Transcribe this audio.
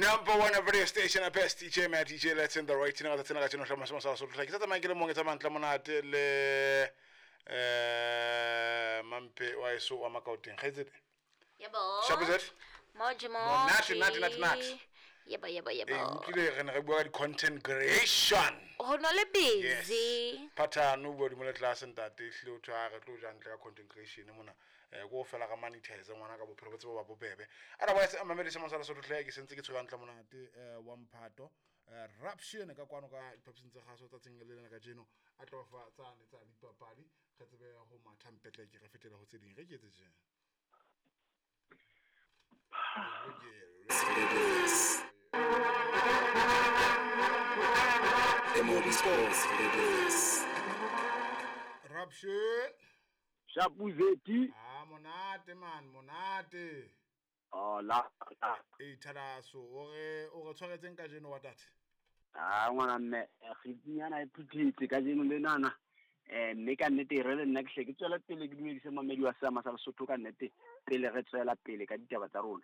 Number one radio station, a best DJ, man, DJ Let's in the right thing, that's another channel, Masama Sotho. Ke tsa tsamaya ke le mong, ke tsamaya ntle monate le Mampe wa eso wa Makaoteng. Kgaitsedi. Yebo. Sharp is it? Moji Monate, moji. nate, nate, nate. Yebo yebo yebo. Ee, utlwile re ne re bua ka di-content creation. Ho no le busy. Yes. Phathano o bua hodimo le tlase ntate, ehlile o thwe ha re tlo ja ntle ka content creation mona. Ko fela ka monetize ngwana ka bophelo bo tsebe ba bobebe. Otherwise, mamedi se mosala Sotho hle, ke sentse ke tshwere hantle monate wa mphato. Ruption ka kwano ka diphaposing tsa kgaso tsatsing le lena kajeno a tlo fa tsane tsa dipapadi re tsebe ho matha mpetleke re fetele ho tse ding re ke etse tje. Ruption. Shapuzeti. Ah, monate man, monate. Oh, la. E thalaso, o re tshwaretseng kajeno wa tate? Ah, ngwana mme, kgitinyana e phuthetse kajeno le nana. Mme ka nnete re le nna ke hle ke tswela pele ke dumedise mamedi wa Seama sa Lesotho ka nnete pele re tswela pele ka ditaba tsa rona.